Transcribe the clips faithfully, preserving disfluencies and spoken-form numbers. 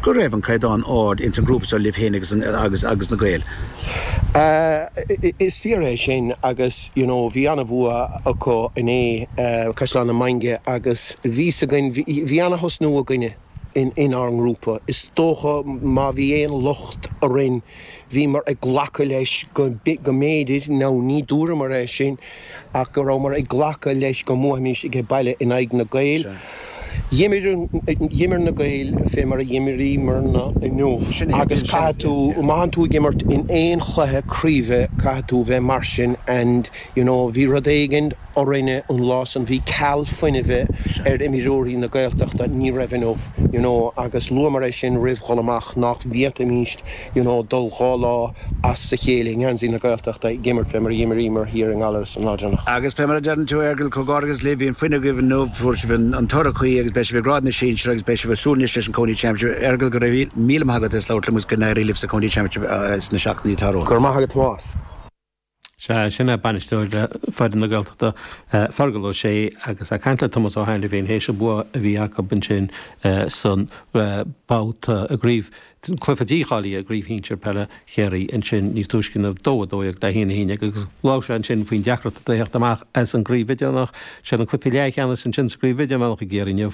go raibh an caighdeán ard ins an grúpa seo libh féin agus agus agus na Gaeil. Uh, is fíor é sin agus you know, bhí an-bhua acu inné uh, Caisleán na Mainge agus bhí againn bhí an-thosnú againne in inár ngrúpa. Is dócha má bhí aon locht orainn bhíomar ag glacadh leis go go mb'fhéidir nó ní dúramar é sin ach go rabhamar ag glacadh leis go mbuafaimis ag baile in aghaidh na Gaeil. D'imir na Gaeil fé mar a d'imríomarna inniu agus caithfidh tú má tú ag imirt in aon chluiche craoibhe caithfidh tú bheith mar sin and you know, bhí rud éigin orainne an lá san bhí ceal fuinnimh ar imreoirí na Gaeltachta ní raibh inniu you know, agus luamar é sin roimh dhul amach nach bhféadfaimis you know, dul dhá lá as a chéile ngansaí na Gaeltachta ag imirt fé mar a d'imríomar thiar i nGallaras an lá deireanach. Agus fé mar a deireann tú Fheargal comhghairdeas libh bhí an fuinneamh agaibh inniu fuair sibh an toradh cuí agus beidh sibh i ngrád na sinsear agus beidh sibh ag súil anois leis an County Championship Fheargal go raibh míle maith agat as labhairt liom go n-éirí libh sa County Championship sna seachtainí atá romhainn. Gur maith agat Tomás. Se sin é bainisteoir foireann na Gaeltachta Feargal Ó Sé agus ag caint le Tomás Ó hAiniféin théis an bua a bhí acu ansin san babhta i gcraobh cluiche dícháilithe i gcraobh shinsir peile Chiarraí ansin níos túisce ná dó a dó le haon a haon agus labhair sé ansin faoin deacracht a theacht amach as an gcraobh idirmheánach sé an cluiche leathcheannais ansin sa gcraobh idirmheánach i gCiarraí inniu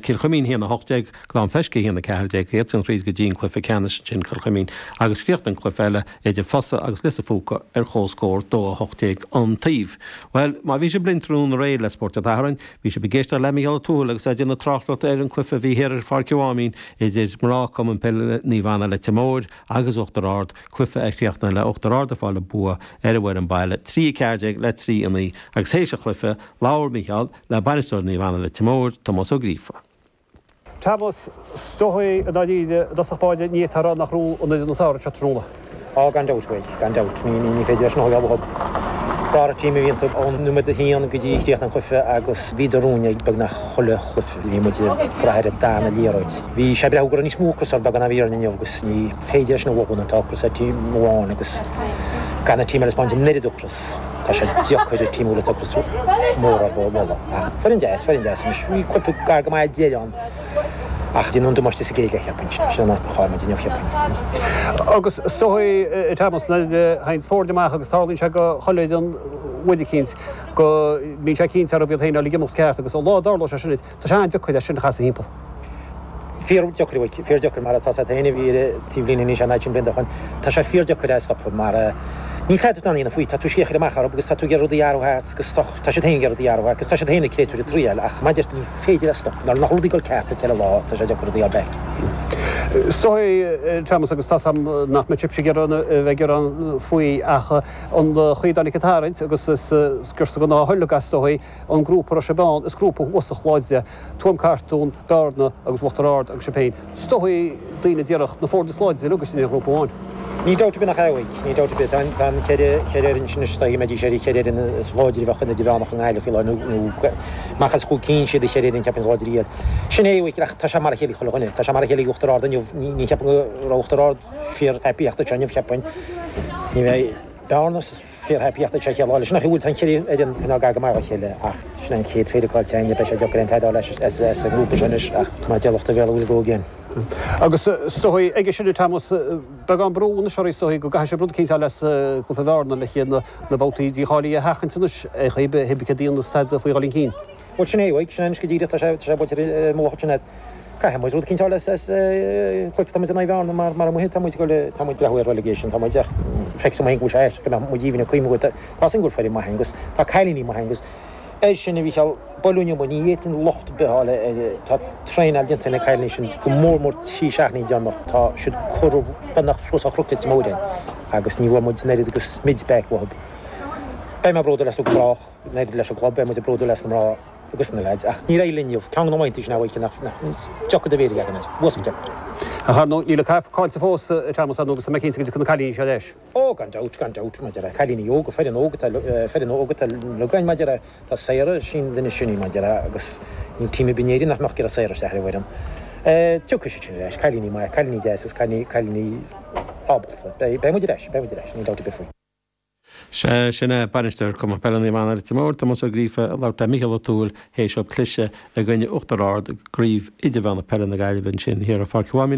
Cill Chuimín haon a hocht déag Gleann Feisce haon a ceathair déag iad san tríd go dtí an cluiche ceannais sin Cill Chuimín agus chríochnaigh an cluiche eile idir Fosa agus Lios an Phúca ar chomhscór dó a hocht déag an taobh. Well má bhí sibh linn tráthnóna aréir le Spórt an tSathairn, bhí sibh ag éisteacht le Mícheál Ó Tuathail agus é ag déanamh tráchtaireacht ar an cluiche a bhí thiar ar Pháirc Mháimín idir mná Cumann Peile Naomh Anna Leitir Móir agus Uachtar Ard, cluiche a chríochnaigh le Uachtar Ard ag fáil an bua ar an bhfoireann baile trí ceathair déag le trí a naoi agus théis an chluiche labhair Mícheál le bainisteoir Naomh Anna Leitir Móir Tomás Ó Gríofa. Tomás is dóigh i ndáiríre i dtosach báire ní fhéadfá a rá nach raibh an fhoireann is fearr anseo tráthnóna. Á gan dabht bhuel, gan dabht ní ní féidir leis an óg thug. Bara team a bhíonn ón nóiméad a haon go dtí chríoch an chluiche agus bhíodar romhainn ag beagnach chuile chluiche bhí muid ag brath ar an dara liathróid. Bhí sé breá go níos mó ocras ar beagán a bhí ar inniu agus ní féidir leis na bhóna tá ocras ar team amháin agus gan na team eile spáint an oiread ocras. Tá sé deacair ar team le ocras mór ar bhola ach foireann deas foireann deas anois bhí cluiche gar go maith deireadh ann ach dhéanamh damáiste sa gcéige cheapfainn sin an áit a chaill muid inniu cheapfainn. Agus is dóigh Tomás théann foirne amach agus tarlaíonn sé go chuile an bhuaid eicínt go mbíonn sé cinnte arb iad féin ag imeacht ceart agus an lá a dtarlódh sé sin tá sé an-deacair é sin a chasadh timpeall. Fíor deacair fíor deacair mar atá sé féin a bhí ar taobhlíne níos an sin blianta chun tá sé fíor deacair é stopadh mar ní tá tú na faoi tá tú scéir amach arb agus tá tú ag rudaí athrú agus tá sé féin ag rudaí athrú agus tá sé féin ag créatúr triail ach maidir ní féidir a stop nar nach rudaí go ceart te lá tá sé deacair rudaí back. So Thomas agus tá nach mbeidh sibhse ag bheith ag faoi ach an chaoi a dtáinig an tarraingt agus is sciorsta go ná thuile is dóigh an grúpa ra bán is grúpa uasach láidir Tuaim Cartún, Bearna agus Uachtar Ard agus sibh féin. Is dóigh daoine díreach na foirne is láidre agus sin an grúpa amháin. Ní dabht ar bith nach ea ní dabht ar bith tá ceithre ceithre fhoireann sin is mé sé ceithre fhoireann is láidre bheith na idirmheánach an Ghaillimh faoi lá nó amach as chúig cinn siad a cheithre fhoireann ceapaim is láidre iad. Sin é ach tá sé mar a chéile chuile dhuine, tá sé mar a chéile Uachtar Ard inniu ní cheapaim go raibh Uachtar Ard fíor happy ach seo inniu cheapfainn. Ní bheidh Bearna fíor happy ach sé chéile sin nach bhfuil tá ceithre fhoireann cineál gar go maith a chéile ach sin an chéad péire caillte againne beidh sé deacair an taidáil as as an ngrúpa sin anois ach má deir lucht a bhéal will go again. Agus is dóigh ag sin Thomas beagán brú na seoí is dóigh go gcaithfidh sibh rud eicínt leis cluiche Bhearna le chéad na babhtaí dícháilithe a sheachaint anois é chuib hibice daon staid faoi dul cinn. Bhuel sin é sin anois go díreach tá sé tá sé buailte mullach sin Caithfidh muid rud eicínt leis as cluiche tá muid in aghaidh Bhearna mar mar amuigh tá muid go tá muid breathnú ar relegation tá muid ach feicim go bhfuil sé go mbeadh muid even cuim go tá sin go bhfuil foireann maith agus tá cailíní maith agus ar sin a bhí cheal bolúine mu ní fhéadfainn locht ar bith a fháil ar tá traenáil déanta na cailíní sin go mór mór trí seachtainí deireanach tá siad curtha beagnach suas a chroc mór agus ní bhfuil muid an oiread agus smid back uathu. Beidh mé bródúil as go brách an oiread leis an gclub beidh muid bródúil as na mná agus na lads ach ní raibh linn ceann na bhaintí sin nach nach deacair do bhéir legan air, bhuas deacair. A char níl a caillte fós Thomas agus tá mé cinnte go dtiocfaidh na cailíní seo leis. Ó gan dabht gan dabht maidir le cailíní óga foireann óga foireann óga legáin maidir tá Sarah sin duine sinní maidir agus ní team bin éirí nach mbeadh gur Sarah isteach ar an bhfoireann. Tiocfaidh siad sin leis cailíní maith cailíní deas is cailíní cailíní ábalta. Beidh muid ar ais, beidh muid ar ais, ní dabht ar bith faoi. Se sin é bainisteoir Cumann Peile Naomh Anna Leitir Móir Tomás Ó Gríofa ag labhairt le Mícheál Ó Tuathail théis cliseadh i gcoinne Uachtar Ard i gcraobh idirmheánach peile na Gaillimhe ansin thiar ar Pháirc Mháimín.